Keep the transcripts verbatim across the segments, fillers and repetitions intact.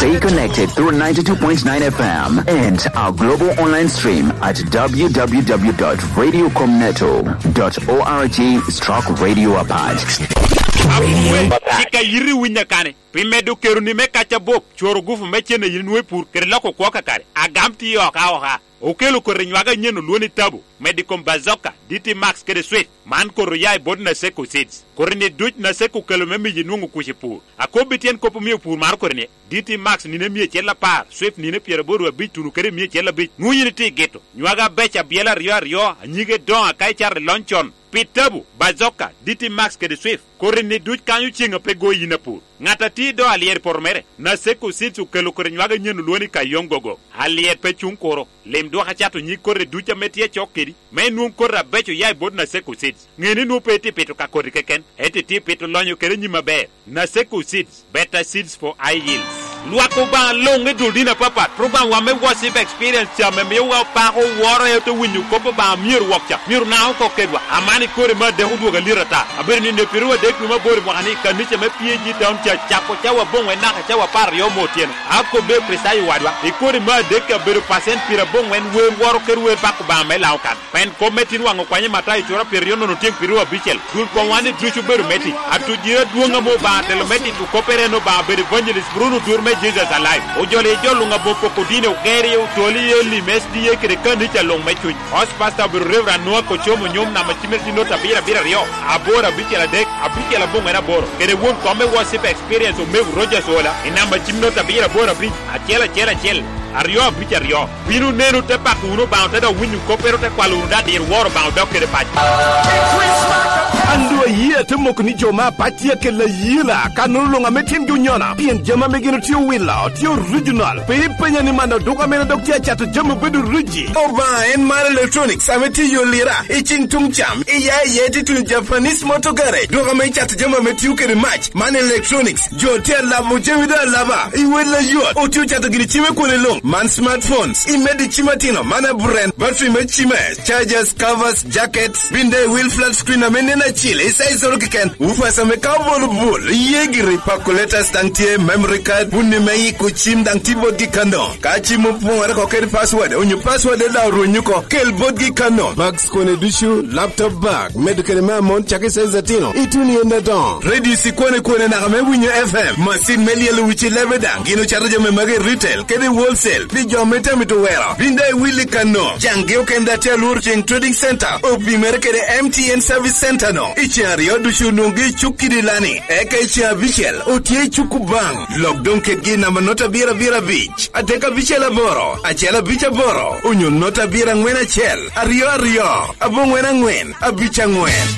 Stay connected through ninety-two point nine F M and our global online stream at w w w dot radio com neto dot org stroke radio apart. Akwee, cik a yiti winyo kani, pi medo keroni me kac abup, cworo gupu me cen a yin inwoŋo i pur, kede loko kwo kakare. Agam tiyo oka oka. Okelo koti nywak anyen olwoŋo ni Tabu, medo i kom Bazooka, D T Max kede Swift. Man koti oya i bot Naseko Seeds. Koti-ni duc Naseko okelo me miyi nwoŋo kuc i pur. Akobbi tyen kop omio pur maro koti-ni, D T Max nino emia acel apar, Swift nino pyeraboro abic tuno kede emia acel abic. Nwoŋo yin itye i gito. Nywak abeco abyela aryo aryo, anyige doŋo aka icato i lony con. Pi Tabu, Bazooka, D T Max kede Swift, koti-ni duc kanyo ceŋ a pe go yin apur. Ŋat a tye i do alyet i poto mere, Naseko Seeds okelo koti nywak anyen olwoŋo ni Kayong Gogo. Alyet pe cuŋ kuro. Lim dwok acato nyig koti duc ame tye acok kedi, me inwoŋ koti abeco oya i bot Naseko Seeds. Ŋe ni nwoŋo pe itye pito ka koti keken, ento itye pito lonyo kede nyim aber. Naseko Seeds, better seeds for high yields. Lwak Obaŋa luŋ i dul dini apapat, program wa me Worship Experience ca ame miowa opako woro, ento winyo kop Obaŋa myero wok ca, myero naŋ oko kedwa. Aman i kore me adek odwogo alit ata. Abedo nino i piro adek dwe me aboro i mwaka ni, i kanica me P A G Town Church, cako cawa aboŋwen naka cawa apar aryo me otyeno. Akobbe Kricitayo wadwa, i kore me adek abedo pacent pyeraboro wer woro kede wer bako Obaŋa me Laŋo kan. Pien kop me tin waŋ okwanyo Matayo cura pyeraryo nono tyeŋ pyeraryo abicel, dul komwa ni ducu obedo me tic. Atujiri adwoŋ ame Obaŋa telo me tito koppere en Obaŋa bedo Evangelist Bruno Odur me Jesus Alive. Ojolo i jo luŋ aboŋo poko dini, ogero i otoli i Elim S D A kede kanica luŋ me cuny. Host Pastor obedo Reverend Noah Kocomo Nyom, namba cimme tye not abiro abiro aryo, aboro abicel adek, abicel aboŋwen aboro. Kede won kom me Worship Experience Omego Rogers Ola, i namba cim not abiro aboro abic, acel acel acel, aryo abic aryo. Bino nenu te pako wunu Obaŋa, te dok winyo koppere, te kwalo wunu dadir woro Obaŋa odok kede paco. An doŋ ayie ate moko ni jo me apac tye akelo ayela, ka nono luŋ ame tyengi onyona, pien jami ame gin otye owilo, tye original. Pe ipenya ni man oduk ame dok tye acato jami obedo riji. Obaŋa en mar electronics ame tye i yo lira, i cing tuŋ cam, i ya i ya i titun Japanese Motor Garage. Dwoko ame icato jami ame tio kede mac, man electronics. Jo tye alabo jami doŋ alaba, i wel ayot. Otye ocato gini cime kwone luŋ, man smartphones. I medo i cim atino, man aburen, battery me cime, chargers, covers, jackets, bin daŋ i wil flat screen ame nen acil, i size oro keken. Woofers ame ka obolo bul, iye giri, calculators daŋ tye, memory card, bunni me iko cim daŋ tye botgi kano. Ka cim opoŋore oko kede password, onyo password daŋ orwenyo oko, kel botgi kano. Bags kone ducu, laptop bag, medo kede me amon cakere i size atino, ituno i ende adoŋo. Radio ikwane kwane naka me winyo F M, macin me lyelo wic i lebe daŋ, gin ocato jami magi i retail kede i wholesale pi jo ame tye amito wero. Bin daŋ iwil i kano, caŋgi okene daŋ tye alworo ceŋ Trading Center, opimere kede M T N Service Center no. I ceŋ aryo ducu onwoŋogi i cuk kidi lani, eka i ceŋ abicel otye i cuk Obaŋa. Lok doŋ kedgi i namba not abiro abiro abic, adek abicel aboro, acel abic aboro, onyo not abiro aŋwen acel, aryo aryo, aboŋwen aŋwen, abic aŋwen.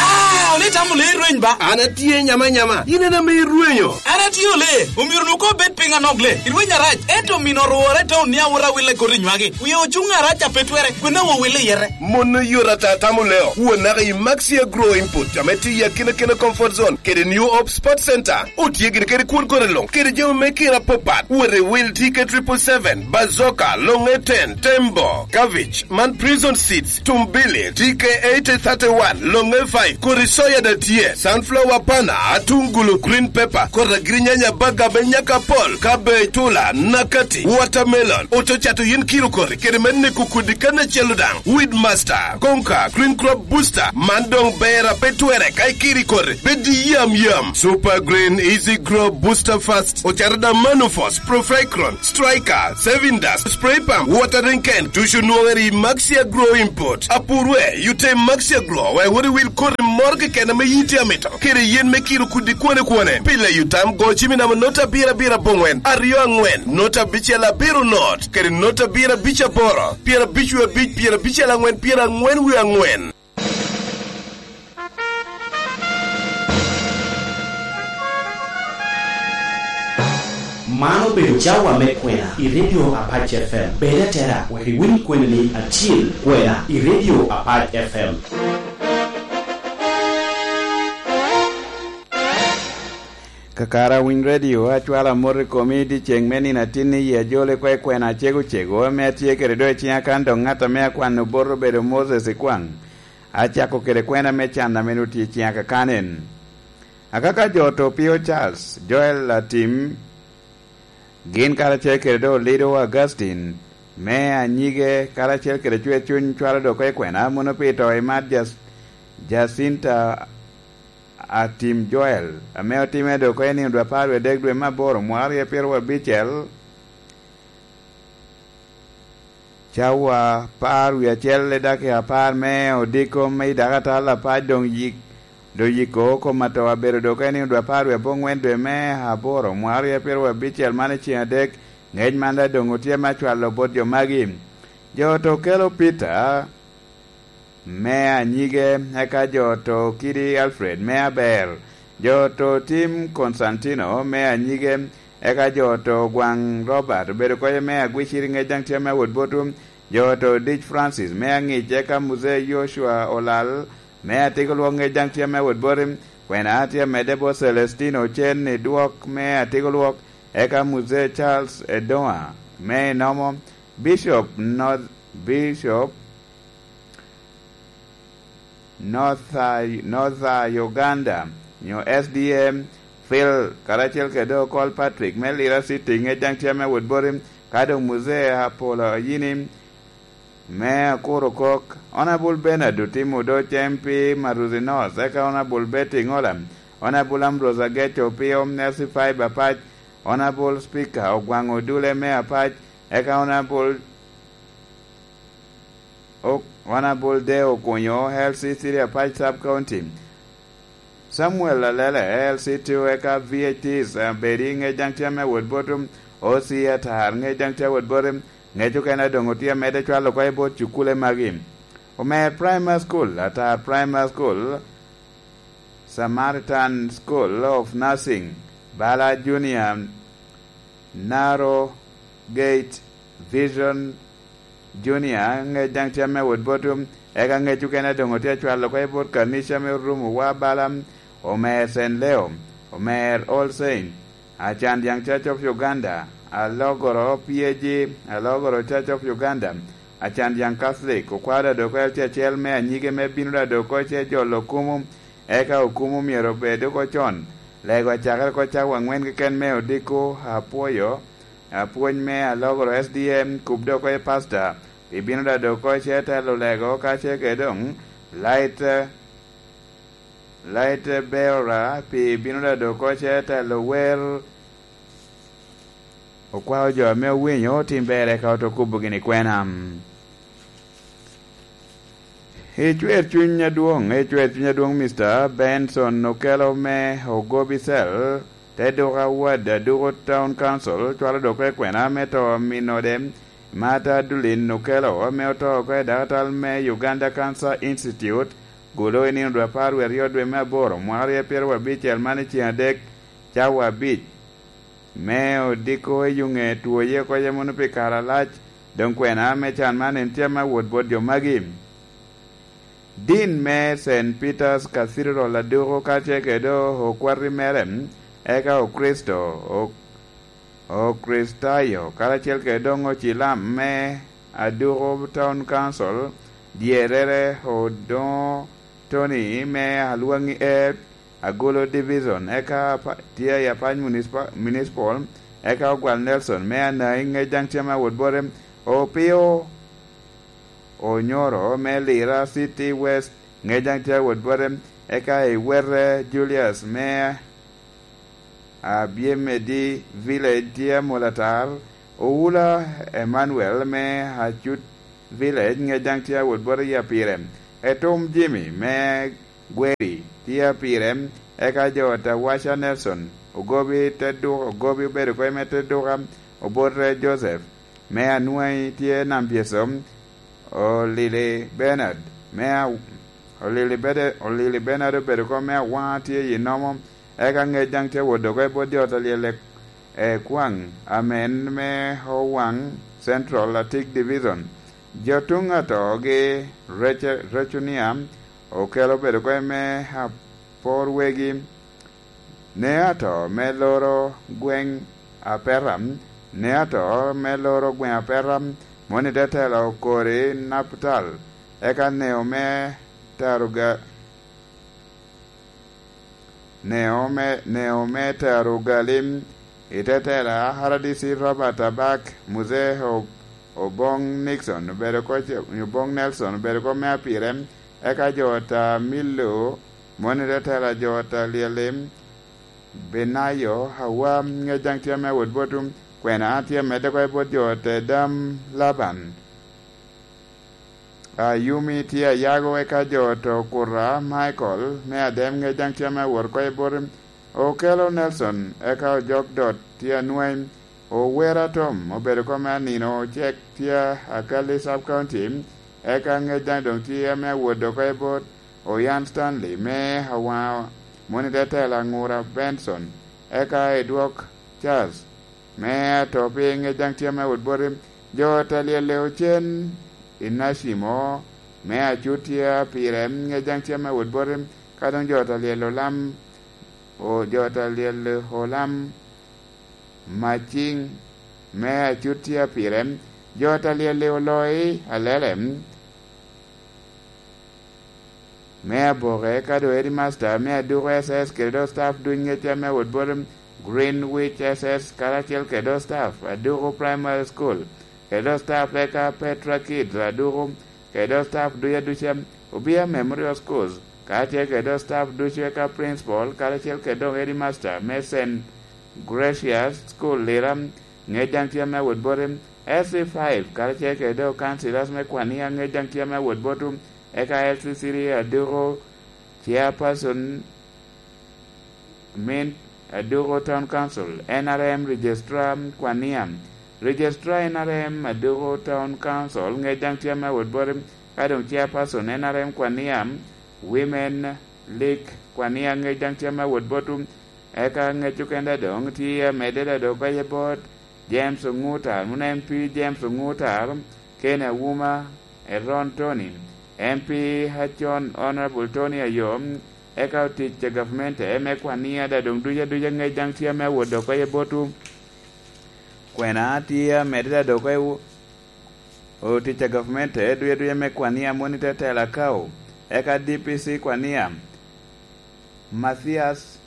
Ah, ole itamo le irweny ba? An atye nyama nyama, in en ame irwenyo. An atye ole, omyero nu ko bed piny anok le. Irweny arac, ento mino orwore te onia wora willa koti nywagi. Wie ocuŋ arac a pe twere, kwena wo willa iyete. Mon oyot ata tamo leo. Won naka i Maxi Agro Input, ame tye i akina kina comfort zone, kede New Hope Sports Center. Otye gini kede kwon kore luŋ, kede jami me kira apapat. Wot i wil T K triple seven, Bazooka, Longe ten, Tembo, Cabbage, man Prison Seeds, Tumbili, T K eighty thirty-one, Longe five, kodi soya da tye, sunflower pana, atungulu, green pepper, kodi agirinyanya, baga, be nyaka pol, cabbage, tula, nakati, watermelon, oto cato yin kiro kodi, kede me neko kodi kan acel daŋ, Weed Master, Konka, Green Crop Booster, man doŋ ber a pe twere ka ikiri kodi, bed yam yam. Super Green, Easy Grow, Booster Fast, ocato da Manufos, Profecron, Striker, Saving Dust, Spray Pump, Watering Can, ducu nwoŋere i Maxi Agro Import. Apurwe, yute Maxi Agro, wek wot iwil koti moro keken ame yiti amito, kede yen me kiro kudi kwane kwane. Pile yutam go cimi namo not abiro abiro abongwen, aryo angwen, not abicel abiro not, kede not abiro abic aboro, pyerabic wie abic, pyerabicel angwen, pyerangwen wie angwen. Man obedo cawa me kwena i Radio Apac F M. Bed atera wek iwiny kweni ni acil kwena i Radio Apac F M. Kakare awiny redio, acwalo amot i komi i dyeceŋ me nino atin i yie ajole kwe kwena acego cego ame atye kede do i ciŋa kan dok ŋat ame akwano bot obedo Moses Ikwaŋ. Acako kede kwena me can ame nwoŋo tye i ciŋa kakan en. Akaka jo oto pio Charles, Joel Atim, gin karacel kede doŋ Olido Augustine, me anyige karacel kede Cwer Cuny cwalo doŋ oko i kwena, mono pi to i mat Jac-, Jacinta Atim Joel, ame otimme doŋ oko i nino dwe apar wie adek dwe me aboro mwaka aryo pyeraryo abicel. Cawa apar wie acel i dakika apar me odiko me i dakatal apac doŋ yik, doŋ yiko kom ato abedo doŋ oko i nino dwe apar wie aboŋwen dwe me aboro mwaka aryo pyeraryo abicel man i ceng adek. Ŋec man daŋ doŋ otye me acwalo bot jo magi. Jo oto kelo Peter me anyige, eka jo oto kidi Alfred me aber, jo oto Tim Constantino me anyige, eka jo oto Gwaŋ Robert obedo koye me agwiciri ŋec daŋ tye me awot botu, jo oto Dic Francis me aŋic, eka Muzee Yoshua Olal me atiko lwok ŋec daŋ tye me awot boti, kwena tye medde bot Celestino Ocen i dwok me atiko lwok, eka Muzee Charles Edoa me inomo, Bishop North, Bishop North, North Uganda, nyo S D M, Phil, karacel kede Okol Patrick me Lira City, ŋec daŋ tye me wot boti, ka doŋ Muzee Apolo Ayini me Akuro Kok, Honorable Bernard Otimo Odoc M P Maruzi North, eka Honorable Betty Ngola, Honorable Ambrose Ageco Opio, Mercy Fiber Apac, Honorable Speaker Ogwaŋ Odule me Apac, eka Honorable Ok-, Honorable Deo Okunyo, L C three Apac Sub County, Samuel Alele, L C two, eka V H Ts, eh, Bedi, ŋec daŋ tye me wot botum, O C Atar, ŋec daŋ tye wot botum, ŋec okene doŋ otye amedde cwalo oko i bot cukule magi. Omer Primary School, Atar Primary School, Samaritan School of Nursing, Bala Junior, Narrow Gate Vision Junior, ŋec daŋ tye me wot botum, eka ŋec okene doŋ otye acwalo oko i bot kanica me Orumo wa bala, Omer Saint Leo, Omer All Saint, Acan Young Church of Uganda, Alogoro P A G, Alogoro Church of Uganda, Acan Young Catholic, okwao daŋ doko L C acel me anyige me bino daŋ doko ce jolo okumu, eka okumu myero obed oko con. Lego acakere oko cawa aŋwen keken me odiko, apwoyo, apwony me Alogoro S D M, kub doko i pasta, pi bino daŋ doko ce telo lego ka ce ke doŋ, Light, Light Bearer, pi bino daŋ doko ce telo wer, okwao jo ame owinyo otim ber eka oto kubo gini kwena. I cwer cuny adwoŋ, i cwer cuny adwoŋ, Mister Benson Okello me Ogobi Cell, te duka wad Aduko Town Council, cwalo dok oko i kwena me to aminode, Martha Adeline Okello, ame oto oko i dakatal me Uganda Cancer Institute, gulo i nino dwe apar wie aryo dwe me aboro, mwaka aryo pyeraryo abicel man i ceng adek, cawa abic. Me odiko i yuŋe twoye oko yam mono pi kare alac, doŋ kwena me can man en tye me wot bot jo magi. Din me Saint Peter's Cathedral aduko kacel kede okwati mere, eka Okricito, o-, Okricitayo, karacel kede doŋ ocilam me aduko Town Council, dyerrere Odoŋo Tony me Alwaŋi East, Agulu Division, eka apa-, tye i Apac Municipal, Municipal, eka Ogwal Nelson me Anai, ŋec daŋ tye me awot bote, Opio Onyoro me Lira City West, ŋec daŋ tye awot bote, eka i Wete Julius me Abyemedi Village tye amol atar, Owula Emmanuel me Acut Village, ŋec daŋ tye awot bote i apire, Etum Jimmy me Gweri tye apire, eka jo Tawaca Nelson, Ogobi te duka, Ogobi obedo kony me te duka, Obote Joseph me Anwai tye Nam Pyeso, Olili Bernard me A-, Olili Bede-, Olili Bernard obedo kony me Awaŋa tye i Nomo, eka ŋec daŋ tye wot dok i bot jo Talyel e, e Kwaŋ, amen me Owaŋ Central, Atik Division. Jo tuŋ atogi Rece-, Recunia Okello obedo kony me Apor Wegi, ne ato me loro gweŋ Apeta, ne ato me loro gweŋ Apeta, moni te telo kori Naptal, eka neo me Taruga-, Neo me, neo me tero ogali i te tela, R D C Robert Abak, Muzee O-, Obong Nixon obedo ko ce-, Obong Nelson obedo ko me apire, eka jo ta Millo, moni te tela jo ta Lyelim, Benayo, Hawa, ŋec daŋ tye me wot botum, kwena tye medde ko i bot jo te dam Laban. Ayumi tye ayago eka jo to kuta, Michael, me adem ŋec daŋ tye me wot ko i bot Okelo Nelson, eka ojok dot tye anweny, Owera Tom, obedo kome anino, Ocek tye Akalli Sub County, eka ŋec daŋ doŋ tye me wot oko i bot Oyan Stanley, me Awaŋa, moni te tela Aŋura Benson, eka Edwok Charles, me ato pi ŋec daŋ tye me wot boti, jo ta lyel ocen i Nacimo, me acut tye pire, ŋec daŋ tye me wot boti, ka doŋ jo ta lyel olam, o, jo ta lyel olam, Maciŋ, me acut tye pire, jo ta lyel oloi alele, me aboke, ka doŋ headmaster me aduko S S kede doŋ staff duc ŋecce me wot bot Greenwich S S karacel kede doŋ staff aduko Primary School kede doŋ staff eka Petra Kids aduko kede doŋ staff duc aduca, Obia Memorial Schools karacel kede doŋ staff ducu eka principal karacel kede doŋ headmaster me Saint Gracious School Lira, ŋec daŋ tye me wot boti, S C five karacel kede doŋ councilors me Kwania, ŋec daŋ tye me wot botu, eka L C C D aduko chairperson, min aduko Town Council, N R M Registrar Kwania, Registrar N R M aduko Town Council, ŋec daŋ tye me wot boti, ka doŋ chairperson N R M Kwania, Women League Kwania, ŋec daŋ tye me wot botu, eka ŋec okene doŋ tye amedde doŋ oko i bot James Oŋuta, mano M P James Oŋuta, Ken Awuma, Eron Tony, M P acon Honorable Tony Ayom, eka otic a gavmente me Kwania daŋ doŋ duc aduca ŋec daŋ tye ame awot oko i botwu. Kwena tye amedde daŋ doŋ oko i wo-, otic a gavmente duc aduca me Kwania moni te tela Akau, eka D P C Kwania, Mathias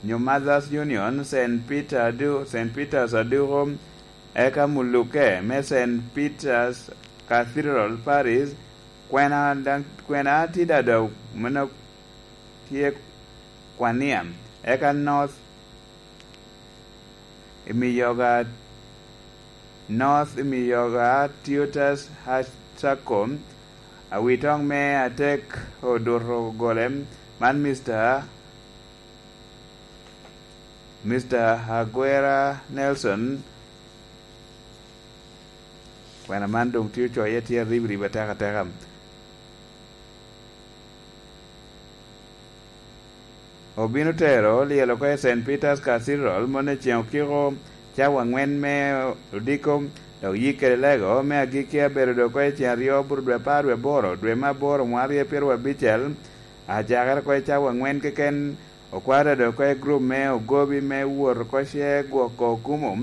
nyo Mothers Union, Saint Peter Adu-, Saint Peter's Aduko, eka muluke me Saint Peter's Cathedral Parish, kwena daŋ, kwena tye daŋ meno tye Kwania, eka North Imiyoga, North Imiyoga Tutors High School, awitoŋ me atek oduto gole, man Mister Mister Aguera Nelson, kwena man doŋ tye ocoye tye aribirib atekateka. Obino tero lyel oko i Saint Peter's Cathedral moni i ceŋ okiko cawa aŋwen me odiko, dok yik kede lego me agikki abedo doŋ oko i ceŋ aryo bur dwe apar dwe aboro, dwe me aboro mwaka aryo pyeraryo abicel, acakere oko i cawa aŋwen keken, okwao doŋ oko i gurup me ogobi me wot oko ce gwoko okumo.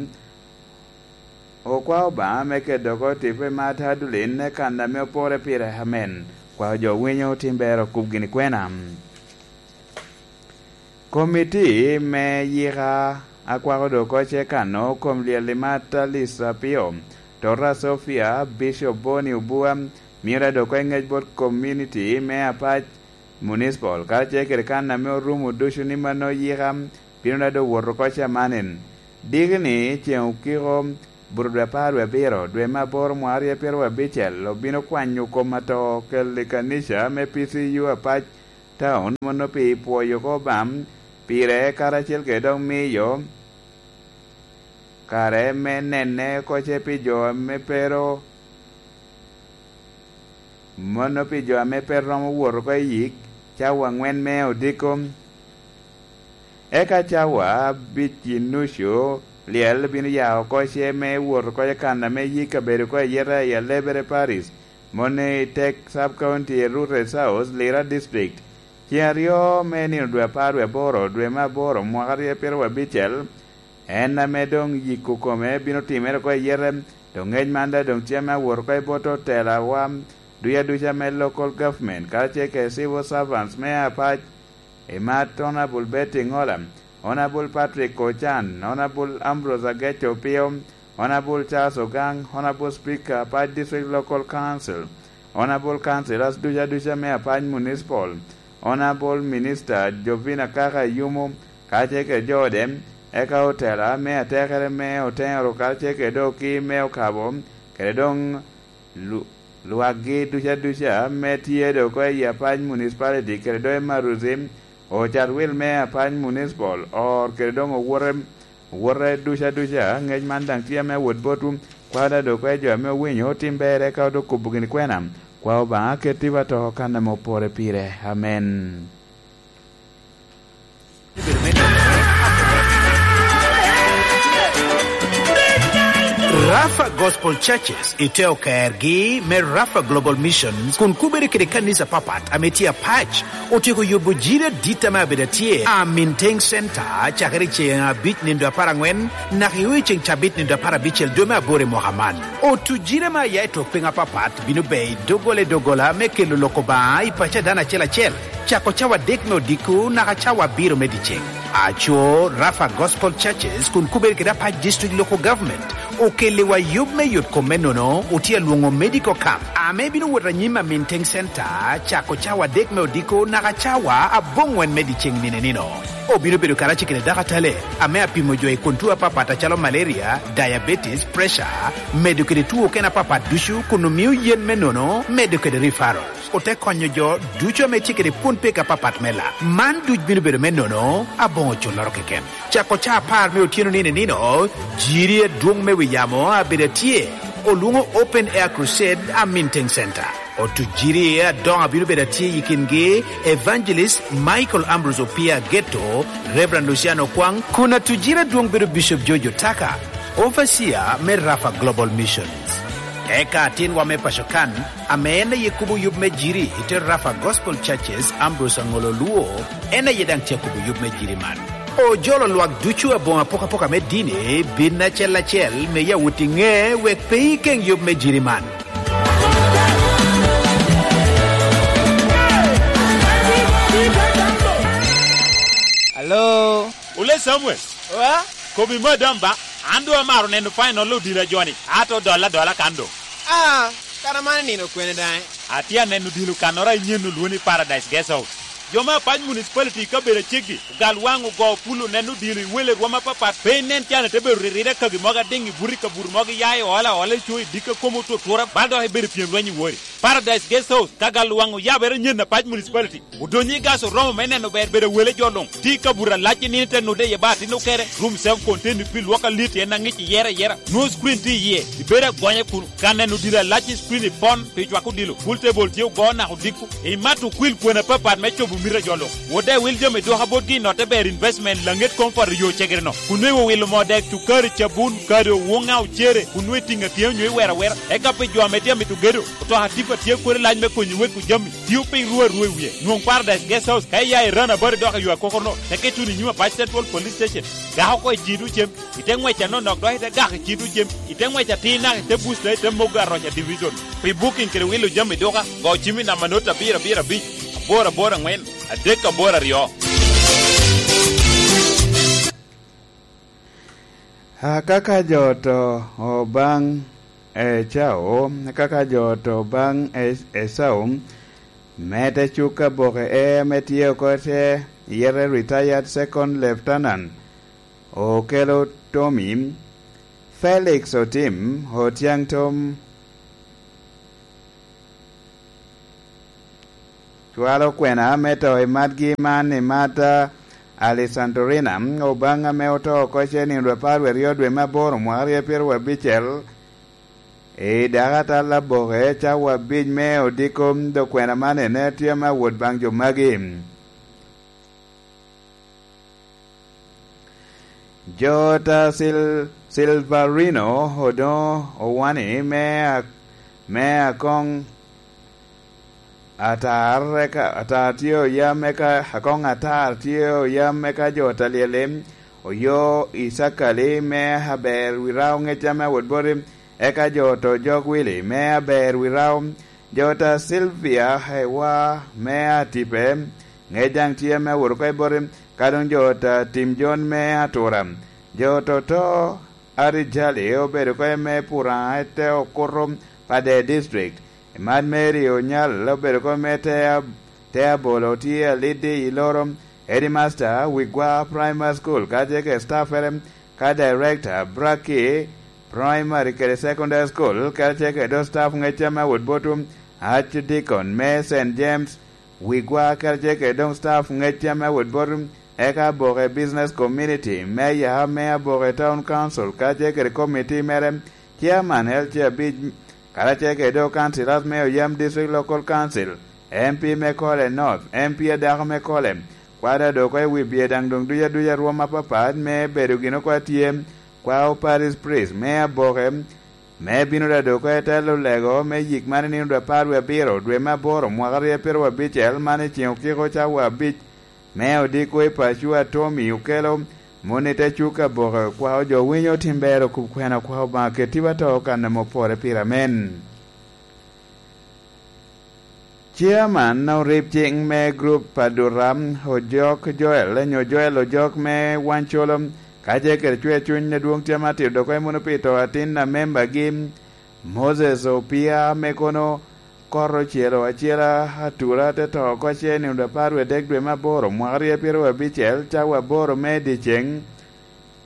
Okwao Obaŋa me keto oko tipo i mar Adulin i kan ame opore pire amen. Kwao jo winyo tim ber okub gini kwena. Komiti me yika akwako doŋ oko ce kano kom lyel i mar Alice Apio, Tota Sofia, Bishop Boni Obua, mira doŋ oko i ŋec bot komuniti me Apac Municipal, karacel kede kan ame orumo ducu ni mano yika bino daŋ doŋ wot oko camanen. Diki ni ceŋ okiko, buto dwe apar dwe abiro, dwe me aboro mwaka aryo pyeraryo abicel, obino kwanyo kom ato kel i kanica me P C U Apac Town, mono pi pwoyo oko Obaŋa pire karacel kede dok miyo kare me nene oko ce pi jo ame pe ro-, mono pi jo ame pe romo wot oko i yik, cawa aŋwen me odiko. Eka cawa abic i nucu lyel bino ya oko ce me wot oko i kan ame yik abedo oko i yeta i Alebere Paris, mono i tek Sub County i Rute South, Lira District. Ceŋ aryo me nino dwe apar dwe aboro, dwe me aboro, mwaka aryo pyeraryo abicel, en ame doŋ yiko kome bino timere oko i yete, dok ŋec man daŋ doŋ tye ame awot oko i bot otelawa duc aduca me local government, karacel kede civil servants me Apac Imat Honourable Betty Ngola, Honourable Patrick Ochan, Honourable Ambrose Ageco Opio, Honourable Charles Ogang, Honourable Speaker, Apac District Local Council, Honourable Councillors ducu aduca me Apac Municipal, Honourable Minister Jovina Kaka Yumo, kacel kede jo ode, eka otela me atekere me Otero, kacel kede doki me Okabo, kede doŋ lu-, lwakgi ducu aduca ame tye doŋ oko i Apac Municipality kede doŋ i Maruzi, ocat wil me Apac Municipal, or kede doŋ owote, owote ducu aduca. Ngec man daŋ tye ame awot botwu, kwada doŋ oko i jo ame owinyo otim berre, eka doŋ kobo gini kwena. Kwa Obaŋa, ketti wa to kan ame opore pire. Amen. Rafa Gospel Churches i te okergi me Rafa Global Missions kun kubere kede kanisa papat ame tye apac otyeko yubo jiri adit ame abedo atye Aminteng Center cakere i ceŋ abic nindo apar aŋwen naka i ceŋ cabit nindo apar abicel dwe me aboro i mwaka man. Otu jiri ame aya i tok piny apapat bino ber i doggola i doggola me kelo lok Obaŋa i paco a dano acel acel. Cako cawa adek me odiko naka cawa abiro me dyeceŋ. Aco, Rafa Gospel Churches kun kubere kede Apac District Local Government okelliwa yub me yot kom me nono, otye alwoŋo medical camp, ame bino wot anyim Aminteng Center, cako cawa adek me odiko naka cawa aboŋwen me dyeceŋ nino i nino. Obino bedo karacel kede dakatale, ame apimo jo i kun tuo apapat acalo malaria, diabetes, pressure, medo kede tuo okene apapat ducu, kun omio yen me nono, medo kede referral. Ote konyo jo ducu ame tye kede kwon peko apapat me lak. Man duc bino bedo me nono aboŋo culloro keken. Cako ca apar me otyeno nino i nino, jiri adwoŋ me wi yamo abedo atye, olwoŋo Open Air Crusade Aminteng Center. Otu jiri adoŋo abino bedo atye i kingi Evangelist Michael Ambrose Opia Geto, Reverend Luciano Kwang, kun atu jiri adwoŋ bedo Bishop George Otaka, Overseer me Rafa Global Missions. Eka atinwa me paco kan, ame en aye kubo yub me jiri i te Rafa Gospel Churches, Ambrose Aŋolo Luo, en aye daŋ tye akubo yub me jiri man. Ojolo lwak ducu aboŋo apokapoka me dini, bin acel acel, me ya wot i ŋe, wek pe ikeŋ yub me jiri man. Alo? Ole Samuel. Wa? Kobi madam ba, an doŋ amaro neno final odila joni, ato dolla dola kan doŋ. Ah, kara man nino kwene daŋ? Atye aneno odilo kannoro a inyen olwo ni Paradise Guest House. Jo me Apac Municipality i kabedo aceggi, ogal waŋ ogo pul oneno odilo i wele rwom apapat, pe inen can ete bedo ririre kagi mogo adiŋ i buto i kabuto mogo iya i ola ola i co i dikka kom otutura, bal dok ibedo pyem lweny i wori. Paradise Guest House, ka gal waŋ oyabere nyen Apac Municipality. Odonyo i gas oromo me neno ber bedo wele jo luŋ. Tye i kabuto alac i nino te nude iye ba atin okere. Room self contained pi lwok alit en aŋic iyere ayera. Nwoŋo screen tye iye. Ibedo agonya kuno. Ka neno odilo alac i screen i pon pi cwako odilo. Pool table tye ogo naka odiko. Imato okwil kwena apapat me cobo mito a jo luŋ. Wode wil jami dwoka botgi i notte ber investment laŋet koŋ poto yo cegere-no. Kun nwoŋo iwilo moo dek, cukari, cabun, kado, woŋa, ocere. Kun nwoŋo itiŋo atyeo nyo iwero awera. Eka pi jo ame tye amito gedo. Otoka tipa tye kodi lac me konyo weko jami, tio piny ruu arua i wie. Nwoŋ Paradise Guest House ka iya i Run About dok i yo akokorno, teke tuno i nyim Apac Central Police Station. Gak oko i Citu cem, i te ŋwec anonok dok i te gak i Citu cem, i te ŋwec atir naka i te Busta i te Mogo Aroca Division. Pi booking kede wilo jami duka, go cim i namba not abiro abiro abic, aboro aboro aŋwen, adek aboro aryo. Akaka jo oto obaŋ Ecau, akaka jo oto baŋ E-, Ecau, me te cuk aboke e ame tye oko te yete retired second lieutenant, Okello Tommy, Felix Otim, Otiaŋ Tom, Cwalo kwena me to i matgi man i mat, a, Alessandrina, Obaŋa ame oto oko cen i nino apar wie aryo dwe me aboro mwaka aryo pyeraryo abicel, i dakatal aboke cawa abic me odiko, dok kwena man ene tye ame awot baŋ jo magi. Jo ta Sil-, Silverino odoŋo owani me a-, me akoŋ atar, eka atar tye oyam, eka akoŋ atar tye oyam, eka jo ta Lyellim oyo i Sakali me aber wi rao ŋec ame awot boti, eka jo to Jok Wili me aber wi rao, jo ta Silvia Hewa me Atipe, ŋec daŋ tye ame awot oko i boti, ka doŋ jo ot a Tim Jon me Atura. Jo ot oto Ari Jali obedo oko i me Puraŋ, ete okuto Pader District. Mad Mary Onyal obedo oko i me Tea, Tea Bolo tye aliddi i loro. Headmaster Wigwa Primary School kacel kede staffere, ka director Braki Primary kede Secondary School kacel kede staff ŋec ame awot botu, Archdeacon me Saint James, Wigwa kacel kede doŋ staff ŋec ame awot botu, eka Aboke Business Community, Mayor me Aboke Town Council kacel kede committee mere, Chairman L C abic, karacel kede doŋ councillors me Oyam District Local Council, M P me Kole North, M P adako me Kole, kwada doŋ oko i wi bye daŋ doŋ duc aduc a rwom apapat me bedo gin oko atye, kwao Parish Priest me Aboke, me bino daŋ doŋ oko i telo lego me yik man i nino dwe apar wie abiro, dwe me aboro, mwaka aryo pyeraryo abicel, man i ceŋ okiko cawa abic, me odiko i paco a Tommy Okello, moni te cuk Aboke, kwao jo winyo tim ber okub kwena, kwao Obaŋa keti wa to kan ame opore pire. Amen. Chairman orib ciŋ me group Adura, Ojok Joel, nyo Joel Ojok me Wancolo, kacel kede cwer cuny adwoŋ tye ma tito dok emo pi to atin a membagi, Moses Opia, me kono kor ocelo acela atura te to oko ce nino dwe apar wie dek dwe me aboro, mwaka aryo pyeraryo abicel, cawa aboro me dyeceŋ.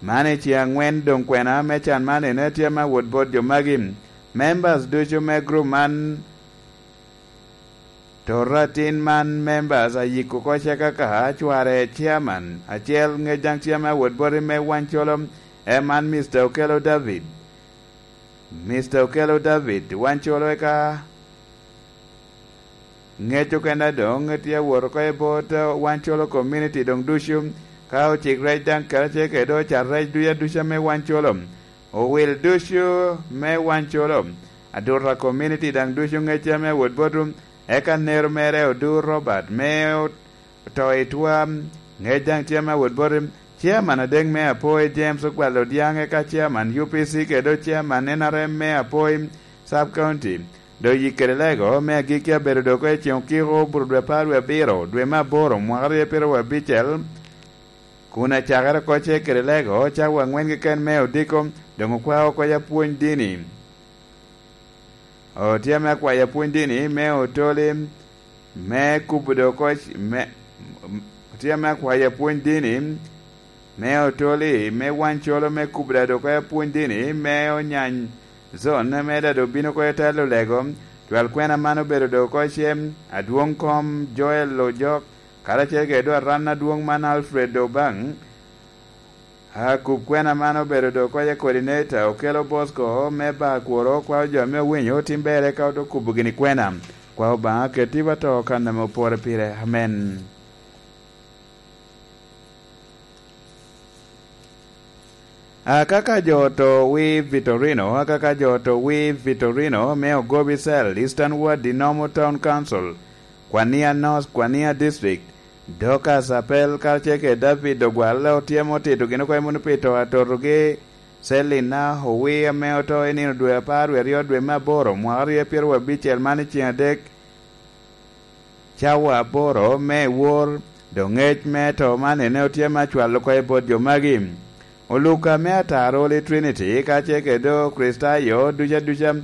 Man i ceŋ aŋwen doŋ kwena me can man ene tye me awot bot jo magi. Members ducu me group man, toto atin man members ayiko oko ce kaka cware chairman acel, ŋec daŋ tye me awot boti me Wancolo, en man Mister Okello David. Mister Okello David, Wancolo, eka ŋec okene doŋ tye awot oko i bot, eh, Wancolo community doŋ ducu, ka ocik rec daŋ karacel kede ocat rec duc aduca me Wancolo. Owil ducu me Wancolo, Aduta community daŋ ducu ŋecce me awot botu, eka nero mere Odur Robert me o-, oto i twam, ŋec daŋ tye me awot botu. Chairman adek me Apoi, James Ogwal Odyaŋ, eka chairman U P C kede chairman N R M me Apoi Sub County. Doŋ yik kede lego me agikki abedo dok i ceŋ okiko, buto dwe apar wie abiro, dwe me aboro, mwaka aryo pyeraryo abicel, kun acakere oko ce kede lego cawa aŋwen keken me odiko, doŋ okwao oko ya pwony dini. Otye ame akwayo apwony dini me otoli, me kubo dok oc-, me, otye ame akwayo apwony dini me otoli, me Wancolo, me kubo da dok apwony dini me onyany zon, me da dok bino oko i telo lego. Cwal kwena man obedo dok oko cem, adwoŋ kom Joel Ojok, karacel kede dwaran adwoŋ man Alfred Obaŋ. Akub kwena man obedo dok oko coordinator, Okello Bosco me Bakworo, kwao jo ame owinyo tim ber eka oto kubo gini kwena. Kwao Obaŋa keti wa to kan ame opore pire. Amen. Akaka jo oto wi Vitorino, akaka jo oto wi Vitorino me Ogobi Cell, Eastern Ward, Dinomo Town Council, Kwania North, Kwania District, Dorcas Apel karacel kede David Ogwal otyemo tito gin oko i muno pi to atotogi, Selina Owi ame oto i nino dwe apar wie aryo dwe me aboro, mwaka aryo pyeraryo abicel man i ceŋ adek, cawa aboro me wor, doŋ ŋec me to man ene otyemo acwalo oko i bot jo magi. Oluka me Atar Holy Trinity, kacel kede Okricitayo duca duca,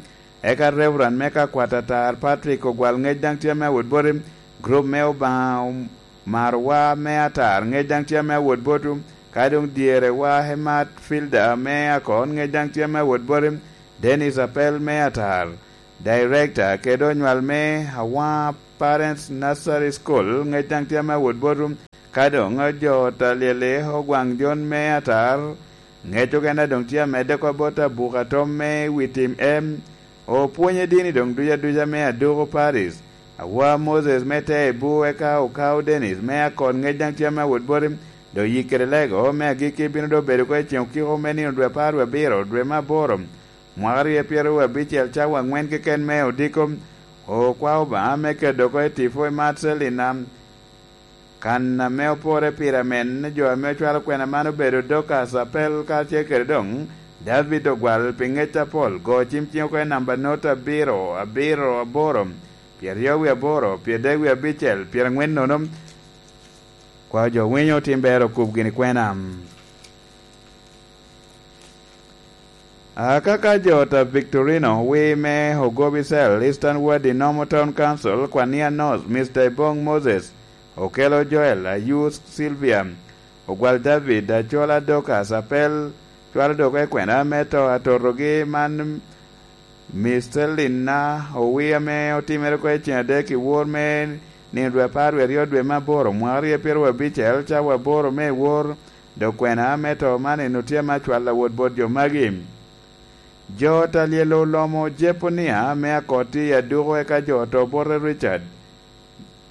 eka Reverend me ka kwat Atar Patrick Ogwal, ŋec daŋ tye me awot boti, group me Obaŋa Marwa me Atar, ŋec daŋ tye me awot botu, ka doŋ dyerewa Hemat Filda me Akon, ŋec daŋ tye me awot boti, Dennis Apel me Atar, Director kede onywal me Awaŋa Parents Nursery School, ŋec daŋ tye me awot botu, ka doŋ jo Talyeli Ogwaŋ Jon me Atar, ŋec okene doŋ tye amedde oko bot abuka tom me wi tim em, opwonye dini doŋ duca duca me Aduku Paris, Awa Moses me Tebu, eka Okau Dennis me Akon, ŋec daŋ tye me awot boti, doŋ yik kede lego me agikki bino doŋ bedo oko i ceŋ okiko me nino dwe apar wie abiro, dwe me aboro, mwaka aryo pyeraryo abicel, cawa aŋwen keken me odiko. Okwao Obaŋa me kedo oko i tipo i Marcelina, kan ame opore pire amen. Jo ame ocwalo kwena man obedo Dorcas Apel karacel kede doŋ David Ogwal pi ŋec apol. Go cim ciŋ oko i namba not abiro, abiro, aboro, pyeraryo wie aboro, pyeradek wie abicel, pyeraŋwen nono. Kwao jo winyo otim ber okub gini kwena. Akaka jo ta Victorino wi me Ogobi Cell, Eastern Ward i Nomo Town Council, Kwania North, Mister Ibong Moses, Okelo Joel, Ayus Sylvia, Ogwal David, Acola Dorcas, Apel, cwalo dok i kwena me to atotogi man, Mister Linna Owi ame otimere oko i ceng adek i wor me nino dwe apar wie aryo dwe me aboro mwaka aryo pyeraryo abicel, cawa aboro me i wor, dok kwena me to man en otye ame acwalo awot bot jo magi. Jo ta lyel olomo Jeponia me akot i aduko, eka jo oto bote Richard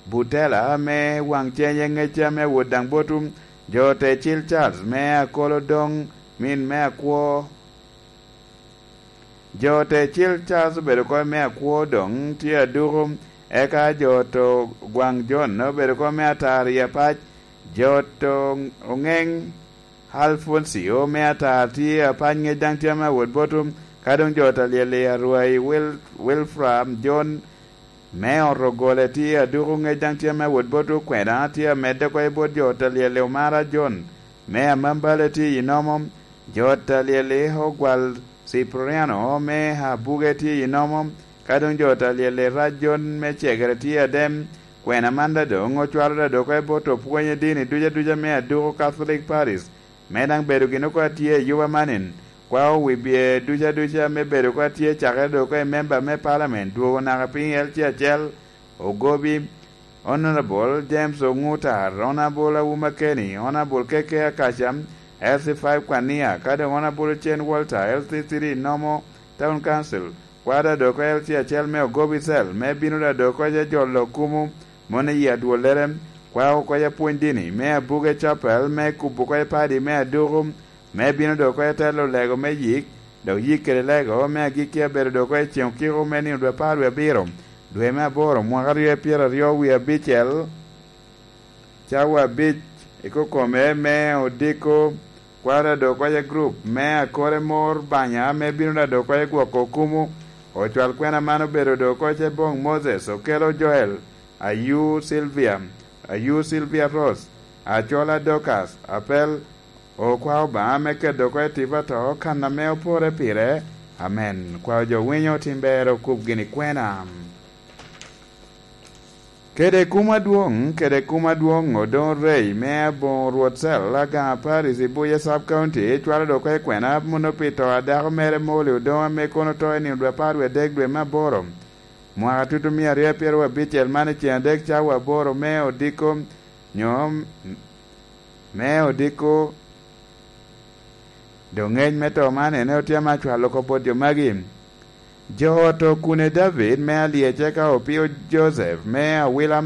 Butela me waŋ ceny e ŋecca me wot daŋ botum. Jo te cil Charles me akolo doŋ min me akwo. Jo te cil Charles obedo kop me akwo doŋ tye aduko, eka jo oto gwaŋ John obedo kop me atar i apac. Jo oto oŋeŋ Alfoncio me atar tye apac ŋec daŋ tye ame awot botum, ka doŋ jo ta lyel i arwai Wil-, Wilfra John me oto gole tye aduko ŋec daŋ tye ame awot botu, kwena tye amedde oko i bot jo ta lyel i Omara John me amambale tye i Nomo, jo ta lyel i Ogwal Cipriano me Abuge tye i Nomo, ka doŋ jo ta lyel i Rac John me Cegere tye adem, kwena man da doŋ ocwalo da dok oko i bot opwony i dini duca duca me aduko Catholic Paris, me daŋ bedo gin oko atye i yuba manin, kwao wi bye duca duca me bedo oko atye cakere dok oko i memba me palamen dwogo naka piny L C acel, Ogobi, Honorable James Ongutar, Honorable Awuma Kenny, Honorable K K Akaca, L C five Kwania, ka doŋ Honorable Chen Walter, L C three Nomo Town Council, kwao da dok oko L C acel me Ogobi Cell, me bino da dok oko je jolo kumo mon i yi adwollere, kwao oko ya pwony dini, me Abuge Chapel, me kubo oko ya padi me aduku, me bino dok oko ya telo lego me yik, dok yik kede lego me agikki abedo dok oko ya ceŋ okiko me nino dwe apar wie abiro, dwe me aboro, mwaka aryo pyeraryo wie abicel. Cawa abic i kokome me odiko, kwaro adok oko ya grup me akore mor banya ame bino da dok oko ya gwoko kumu. Ocwal kwena man obedo dok oko ya Bong Moses, Okelo Joel, Ayu Sylvia, Ayu Sylvia Rose, Acola Dorcas, Apel, okwa Obaŋa me keto oko ya tipo ato kan ame opore pire. Amen. Kwao jo winyo otim ber okub gini kwena. Kede kum adwoŋ, kede kum adwoŋ odoŋ rei me aboŋo Rwot Cel, Agaŋa Paris i Buye Sub County, cwalo dok oko i kwena muno pi to a dako mere Molly Odoŋ ame kono oto i nino dwe apar wie adek dwe me aboro, mwaka tutu mia aryo pyeraryo abicel man i ceŋ adek cawa aboro me odiko, nyo me odiko. Doŋ ŋec me to man en otye ame acwalo oko bot jo magi. Jo oto Kune David me Alyec, eka Opio Joseph me Awila,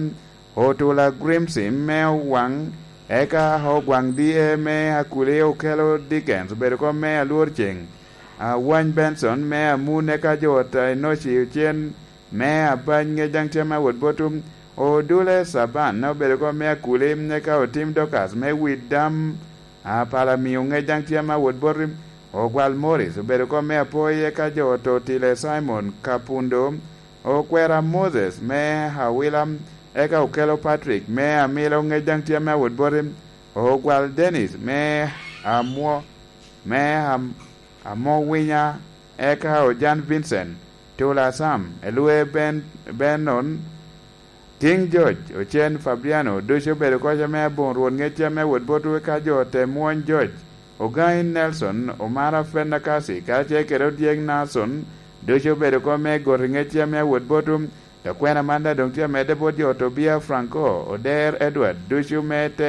Otula Grimsim me Owaŋ, eka Ogwaŋ D A me Akuli, Okelo Dickens obedo kop me Alwor Ceŋ, Awany Benson me Amun, eka jo oto Enoci Ocen me Abany ŋec daŋ tye me awot bot Odule Caban obedo kop me Akuli, eka Otim Dorcas me Widam, Apala Miŋo ŋec daŋ tye me awot bot Ogwal Morris obedo kop me Apoi, eka jo oto Tile Simon Kapundo, Okwera Moses me Awila, eka Okelo Patrick me Amilo ŋec daŋ tye me awot bot Ogwal Dennis me Amwo, me Am-, Amowinya, eka Ojan Vincent, Tula Sam, Elwe Ben-, Benon, King George, Ocen Fabiano, ducu obedo kop me aboŋo Rwot ŋec tye me awot botwu, eka jo ote mwony George, Ogaŋi Nelson, Omara Fenakasi, karacel kede Odyek Nason, ducu obedo kop me goti ŋec tye me awot botwu. Dok kwena man daŋ doŋ tye amedde bot jo Tobia Franco, Oder Edward, ducu me